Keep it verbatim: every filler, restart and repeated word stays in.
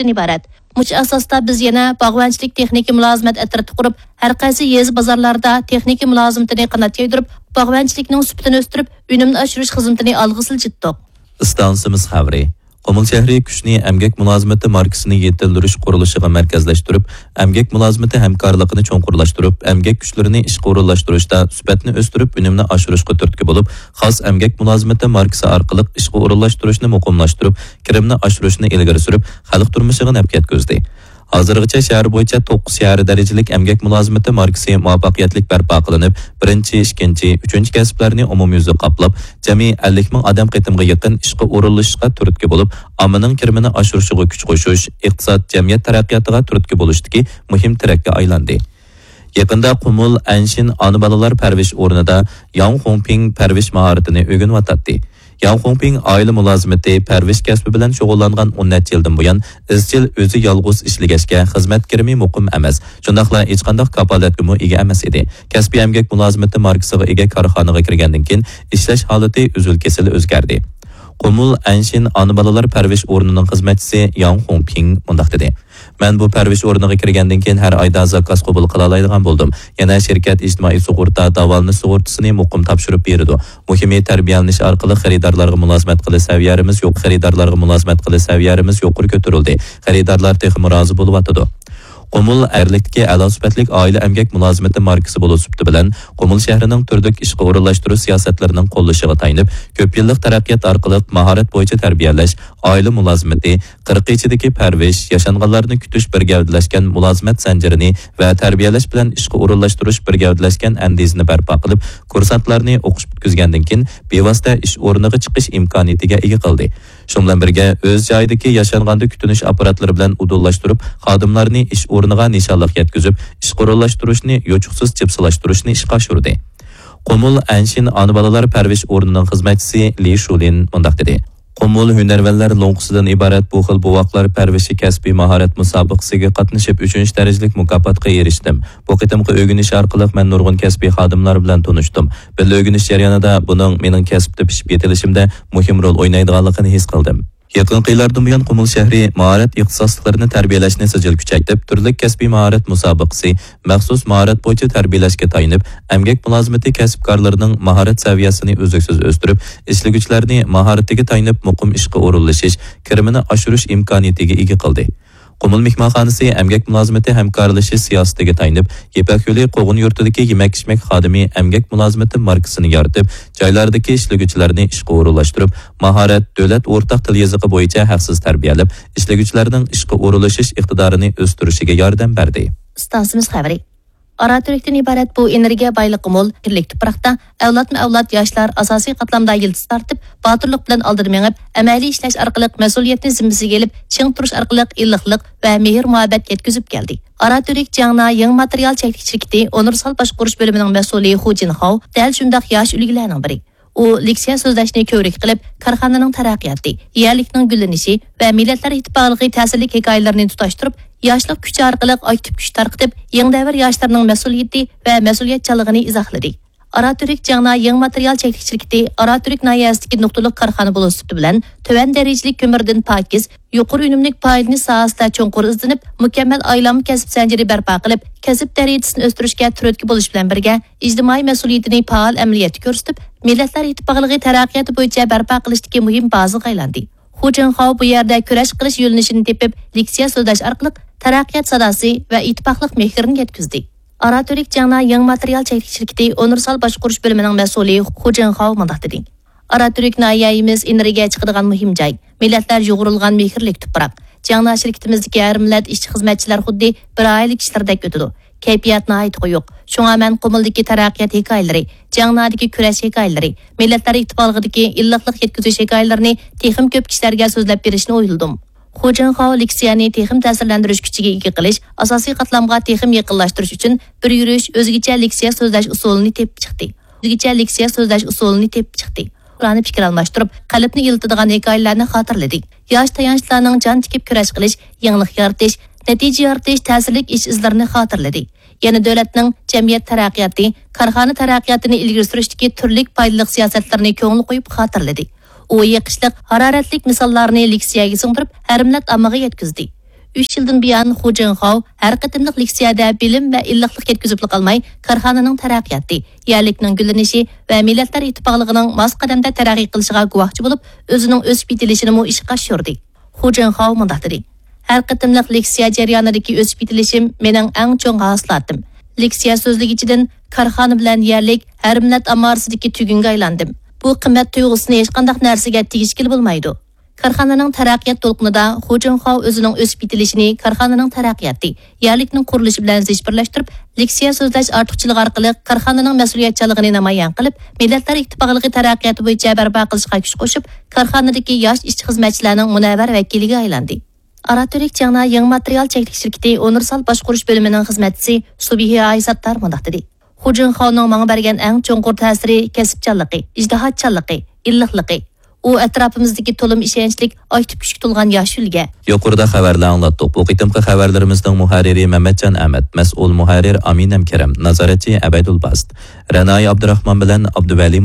ئىبارەت. مۇشۇ ئاساستا بىز يەنە باغۋەنچىلىك تېخنىكا مۇلازىمەت ئەترىتى قۇرۇپ، ھەر قايسى يېزا بازارلاردا تېخنىكا مۇلازىمىتىنى قانات يايدۇرۇپ، باغۋەنچىلىكنىڭ سۈپىتىنى ئۆستۈرۈپ، ئۈنۈمنى ئاشۇرۇش خىزمىتىنى ئالغا سىلجىتتۇق. ئىستانسىمىز خەۋىرى. قۇمۇل شەھىرى كۈچنى ئەمگەك مۇلازىمىتى ماركىسىنى يېتىلدۈرۈش قۇرۇلۇشىغا مەركەزلەشتۈرۈپ، ئەمگەك مۇلازىمىتى ھەمكارلىقىنى چوڭقۇرلاشتۇرۇپ، ئەمگەك كۈچلىرىنى ئىشقا ئورۇنلاشتۇرۇشتا سۈپەتنى ئۆستۈرۈپ، ئۈنۈمنى ئاشۇرۇشقا تۈرتكە بولۇپ، خاس ئەمگەك مۇلازىمىتى ماركىسى ئارقىلىق ئىشقا ئورۇنلاشتۇرۇشنى مۇقىملاشتۇرۇپ، كىرىمنى ئاشۇرۇشنى ئىلگىرى سۈرۈپ، خەلق تۇرمۇشىغا نەپ يەتكۈزدى. ھازىرغىچە شەھەر بويىچە توققۇز شەھەر دەرىجىلىك ئەمگەك مۇلازىمىتى ماركىسى مۇۋەپپەقىيەتلىك بەرپا قىلىنىپ، بىرىنچى، ئىككىنچى، ئۈچىنچى كەسىپلەرنى ئومۇميۈزلۈك قاپلاپ، جەمئىي ئەللىك مىڭ ئادەم قېتىمغا يېقىن ئىشقا ئورۇنلىشىشقا تۈرتكە بولۇپ، ئاممىنىڭ كىرىمىنى ئاشۇرۇشىغا كۈچ قوشۇش، ئىقتىساد، جەمئىيەت تەرەققىياتىغا تۈرتكە بولۇشتىكى مۇھىم تىرەككە ئايلاندى. يېقىندا قۇمۇل ئەنشىن ئانا بالىلار پەرۋىش ئورنىدا ياڭ خۇڭپىڭ پەرۋىش ماھارىتىنى ئۆگىنىۋاتاتتى. ياڭ خۇڭپىڭ ئائىلە مۇلازىمىتى، پەرۋىش كەسپى بىلەن شۇغۇللانغان ئون نەچچە يىلدىن بۇيان، ئىزچىل ئۆزى يالغۇز ئىشلىگەچكە، خىزمەت كىرىمى مۇقىم ئەمەس، شۇنداقلا ھېچقانداق كاپالەتكىمۇ ئىگە ئەمەس ئىدى. كەسپىي ئەمگەك مۇلازىمىتى ماركىسىغا ئىگە كارخانىغا كىرگەندىن كېيىن، ئىشلەش ھالىتى ئۈزۈل-كېسىل ئۆزگەردى. قۇمۇل ئەنشىن ئانا بالىلار پەرۋىش ئورنىنىڭ خىزمەتچىسى ياڭ خۇڭپىڭ مۇنداق دېدى: مەن بۇ پەرۋىش ئورنىغا كىرگەندىن كېيىن، ھەر ئايدا زاكاز قوبۇل قىلالايدىغان بولدۇم. يەنە شىركەت ئىجتىمائىي سۇغۇرتا، داۋالىنىش سۇغۇرتىسىنى مۇقىم تاپشۇرۇپ بېرىدۇ. مۇھىمى، تەربىيەلىنىش ئارقىلىق خېرىدارلارغا مۇلازىمەت قىلىش سەۋىيەمىز يۇق-، خېرىدارلارغا مۇلازىمەت قىلىش سەۋىيەمىز يۇقىرى كۆتۈرۈلدى. خېرىدارلار تېخىمۇ رازى بولۇۋاتىدۇ. قۇمۇل ئەرلىكتىكى ئەلا سۈپەتلىك ئائىلە ئەمگەك مۇلازىمىتى ماركىسى بولۇش سۈپىتى بىلەن، قۇمۇل شەھىرىنىڭ تۈرلۈك ئىشقا ئورۇنلاشتۇرۇش سىياسەتلىرىنىڭ قوللىشىغا تايىنىپ، كۆپ يىللىق تەرەققىيات ئارقىلىق ماھارەت بويىچە تەربىيەلەش، ئائىلە مۇلازىمىتى، قىرىق ئىچىدىكى پەرۋىش، ياشانغانلارنى كۈتۈش بىر گەۋدىلەشكەن مۇلازىمەت زەنجىرىنى ۋە تەربىيەلەش بىلەن ئىشقا ئورۇنلاشتۇرۇش بىر گەۋدىلەشكەن ئەندىزىنى بەرپا قىلىپ، كۇرسانتلارنى ئوقۇش پۈتكۈزگەندىن كېيىن، بىۋاسىتە ئىش ئورنىغا چىقىش ئىمكانىيىتىگە ئىگە قىلدى. شۇنىڭ بىلەن بىرگە، ئۆز جايىدىكى ياشانغاندا كۈتۈنۈش ئاپپاراتلىرى بىلەن ئۇدۇللاشتۇرۇپ، خادىملارنى ئىش ئورنىغا نىشانلىق يەتكۈزۈپ، ئىشقا ئورۇنلاشتۇرۇشنى يوچۇقسىز جىپسىلاشتۇرۇشنى ئىشقا ئاشۇردى. قۇمۇل ئەنشىن ئانا بالىلار پەرۋىش ئورنىنىڭ خىزمەتچىسى لى شۇلىن مۇنداق دېدى: قۇمۇل ھۈنەرۋەنلەر لوڭقىسىدىن ئىبارەت بۇ خىل بوۋاقلار پەرۋىشى كەسپىي ماھارەت مۇسابىقىسىگە قاتنىشىپ، ئۈچىنچى دەرىجىلىك مۇكاپاتقا ئېرىشتىم. بۇ قېتىمقى ئۆگىنىش ئارقىلىق مەن نۇرغۇن كەسپىي خادىملار بىلەن تونۇشتۇم. بىللە ئۆگىنىش جەريانىدا بۇنىڭ مېنىڭ كەسىپتە پىشىپ يېتىلىشىمدە مۇھىم رول ئوينايدىغانلىقىنى ھېس قىلدىم. يېقىنقى يىللاردىن بۇيان، قۇمۇل شەھىرى ماھارەت ئىختىساسلىقلىرىنى تەربىيەلەشنى سىجىل كۈچەيتىپ، تۈرلۈك كەسپىي ماھارەت مۇسابىقىسى، مەخسۇس ماھارەت بويىچە تەربىيەلەشكە تايىنىپ، ئەمگەك مۇلازىمىتى كەسىپكارلىرىنىڭ ماھارەت سەۋىيەسىنى ئۈزلۈكسىز ئۆستۈرۈپ، ئىشلىگۈچىلەرنى ماھارىتىگە تايىنىپ مۇقىم ئىشقا ئورۇنلىشىش، كىرىمىنى ئاشۇرۇش ئىمكانىيىتىگە ئىگە قىلدى. قۇمۇل مېھمانخانىسى ئەمگەك مۇلازىمىتى ھەمكارلىشىش سىياسىتىگە تايىنىپ، يىپەك يولى قوغۇن يۇرتىدىكى يېمەك-ئىچمەك خادىمى ئەمگەك مۇلازىمىتى ماركىسىنى يارىتىپ، جايلاردىكى ئىشلىگۈچىلەرنى ئىشقا ئورۇنلاشتۇرۇپ، ماھارەت، دۆلەت ئورتاق تىل يېزىقى بويىچە ھەقسىز تەربىيەلەپ، ئىشلىگۈچىلەرنىڭ ئىشقا ئورۇنلىشىش ئىقتىدارىنى ئۆستۈرۈشىگە ياردەم بەردى. ئىستانسىمىز خەۋىرى. ئاراتۈركتىن ئىبارەت بۇ ئېنېرگىيە بايلىقى مول، يېرىملىك تۇپراقتا ئەۋلادمۇ ئەۋلاد ياشلار ئاساسىي قاتلامدا يىلتىز تارتىپ، باتۇرلۇق بىلەن ئالدىدا مېڭىپ، ئەمەلىي ئىشلەش ئارقىلىق مەسئۇلىيەتنى زىممىسىگە ئېلىپ، چىڭ تۇرۇش ئارقىلىق ئىللىقلىق ۋە مېھىر-مۇھەببەت يەتكۈزۈپ كەلدى. ئاراتۈرك جياڭنا يېڭى ماتېرىيال چەكلىك شىركىتى ئۇنىۋېرسال باشقۇرۇش بۆلۈمىنىڭ مەسئۇلى خۇ جىنخاۋ دەل شۇنداق ياش ئۈلگىلەرنىڭ بىرى. ئۇ لېكسىيە سۆزلەشنى كۆۋرۈك قىلىپ، كارخانىنىڭ تەرەققىياتى، يەرلىكنىڭ گۈللىنىشى ۋە مىللەتلەر ئىتتىپاقلىقى تەسىرلىك ھېكايىلىرىنى تۇتاشتۇرۇپ، ياشلىق كۈچى ئارقىلىق ئاكتىپ كۈچ تارقىتىپ، يېڭى دەۋر ياشلىرىنىڭ مەسئۇلىيىتى ۋە مەسئۇلىيەتچانلىقىنى ئىزاھلىدى. ئاراتۈرك جياڭنا يېڭى ماتېرىيال چەكلىك شىركىتى ئاراتۈرك ناھىيەسىدىكى نۇقتىلىق كارخانا بولۇش سۈپىتى بىلەن، تۆۋەن دەرىجىلىك كۆمۈردىن پاكىز، يۇقىرى ئۈنۈملۈك پايدىلىنىش ساھەسىدە چوڭقۇر ئىزدىنىپ، مۇكەممەل ئايلانما كەسىپ زەنجىرى بەرپا قىلىپ، كەسىپ دەرىجىسىنى ئۆستۈرۈشكە تۈرتكە بولۇش بىلەن بىرگە، ئىجتىمائىي مەسئۇلىيىتىنى پائال ئەمەلىيەتتە كۆرسىتىپ، مىللەتلەر ئىتتىپاقلىقى تەرەققىياتى بويىچە بەرپا قىلىشتىكى مۇھىم بازىغا ئايلاندى. خۇ جىنخاۋ بۇ يەردە كۈرەش قىلىش يۆنىلىشىنى تېپىپ، لېكسىيە سۆزلەش ئارقىلىق تەرەققىيات ساداسى ۋە ئىتتىپاقلىق مېھرىنى يەتكۈزدى. ئاراتۈرك جياڭنا يېڭى ماتېرىيال چەكلىك شىركىتى ئۇنىۋېرسال باشقۇرۇش بۆلۈمىنىڭ مەسئۇلى خۇ جىنخاۋ مۇنداق دېدى: ئاراتۈرك ناھىيەمىز ئېنېرگىيە چىقىدىغان مۇھىم جاي، مىللەتلەر يۇغۇرۇلغان مېھىرلىك تۇپراق. جياڭنا شىركىتىمىزدىكى ھەر مىللەت ئىشچى-خىزمەتچىلەر خۇددى بىر ئائىلە كىشىلىرىدەك ئۆتىدۇ. كەيپىيات ناھايىتى قويۇق. شۇڭا مەن قۇمۇلدىكى تەرەققىيات ھېكايىلىرى، جياڭنادىكى كۈرەش ھېكايىلىرى، مىللەتلەر ئىتتىپاقلىقىدىكى ئىللىقلىق يەتكۈزۈش ھېكايىلىرىنى تېخىمۇ كۆپ كىشىلەرگە سۆزلەپ بېرىشنى ئويلىدىم. خۇ جىنخاۋ لېكسىيەنى تېخىمۇ تەسىرلەندۈرۈش كۈچىگە ئىگە قىلىش، ئاساسىي قاتلامغا تېخىمۇ يېقىنلاشتۇرۇش ئۈچۈن بىر يۈرۈش ئۆزگىچە لېكسىيە سۆزلەش ئۇسۇلىنى تېپىپ چىقتى. ئۆزگىچە لېكسىيە سۆزلەش ئۇسۇلىنى تېپىپ چىقتى. ئۇلارنى پىكىر ئالماشتۇرۇپ، قەلبنى ئىللىتىدىغان ھېكايىلەرنى خاتىرىلىدى. ياش تايانچلارنىڭ جان تىكىپ كۈرەش قىلىش، يېڭىلىق يارىتىش، نەتىجە يارىتىش، تەسىرلىك ئىش ئىزلىرىنى خاتىرىلىدى. يەنە دۆلەتنىڭ جەمئىيەت تەرەققىياتى، كارخانا تەرەققىياتىنى ئىلگىرى سۈرۈشتىكى تۈرلۈك پايدىلىق سىياسەتلىرىنى كۆڭۈل قويۇپ خاتىرىلىدى. ئۇ يېقىشلىق، ھارارەتلىك مىساللارنى لېكسىيەگە سىڭدۈرۈپ، ھەر مىللەت ئاممىغا يەتكۈزدى. ئۈچ يىلدىن بۇيان خۇ جىنخاۋ ھەر قېتىملىق لېكسىيەدە بىلىم ۋە ئىللىقلىق يەتكۈزۈپلا قالماي، كارخانىنىڭ تەرەققىياتى، يەرلىكنىڭ گۈللىنىشى ۋە مىللەتلەر ئىتتىپاقلىقىنىڭ ماس قەدەمدە تەرەققىي قىلىشىغا گۇۋاھچى بولۇپ، ئۆزىنىڭ ئۆسۈپ يېتىلىشىنىمۇ ئىشقا ئاشۇردى. خۇ جىنخاۋ مۇنداق دېدى: ھەر قېتىملىق لېكسىيە جەريانىدىكى ئۆسۈپ يېتىلىشىم مېنىڭ ئەڭ چوڭ ھاسىلاتىم. لېكسىيە سۆزلىگۈچىدىن كارخانا بىلەن يەرلىك ھەر مىللەت ئاممىسىدىكى تۈگۈنگە ئايلاندىم. بۇ قىممەت تۇيغۇسىنى ھېچقانداق نەرسىگە تېگىشكىلى بولمايدۇ. كارخانىنىڭ تەرەققىيات دولقۇنىدا خۇ جىنخاۋ ئۆزىنىڭ ئۆسۈپ يېتىلىشىنى كارخانىنىڭ تەرەققىياتى، يەرلىكنىڭ قۇرۇلۇشى بىلەن زىچ بىرلەشتۈرۈپ، لېكسىيە سۆزلەش ئارتۇقچىلىقى ئارقىلىق كارخانىنىڭ مەسئۇلىيەتچانلىقىنى نامايان قىلىپ، مىللەتلەر ئىتتىپاقلىقى تەرەققىياتى بويىچە بەرپا قىلىشقا كۈچ قوشۇپ، كارخانىدىكى ياش ئىشچى-خىزمەتچىلەرنىڭ مۇنەۋۋەر ۋەكىلىگە ئايلاندى. ئاراتۈرك چياڭنا يېڭى ماتېرىيال چەكلىك شىركىتى ئۇنىۋېرسال باشقۇرۇش بۆلۈمىنىڭ خىزمەتچىسى سۇبىھى ئايساتتار مۇنداق دېدى: خۇ جىنخاۋنىڭ ماڭا بەرگەن ئەڭ چوڭقۇر تەسىرى كەسىپچانلىقى، ئىجتىھاتچانلىقى، ئىللىقلىقى. ئۇ ئەتراپىمىزدىكى تولىمۇ ئىشەنچلىك، ئاكتىپ كۈچكە تولغان ياش ئۈلگە. يۇقىرىدا خەۋەرلەر ئاڭلاتتۇق. بۇ قېتىمقى خەۋەرلىرىمىزنىڭ مۇھەررىرى مەمەتجان ئەمەت، مەسئۇل مۇھەررىر ئامىنەم كېرەم، نازارەتچى ئەبەيدۇل باست. رەنايى ئابدۇراخمان بىلەن ئابدۇۋەلى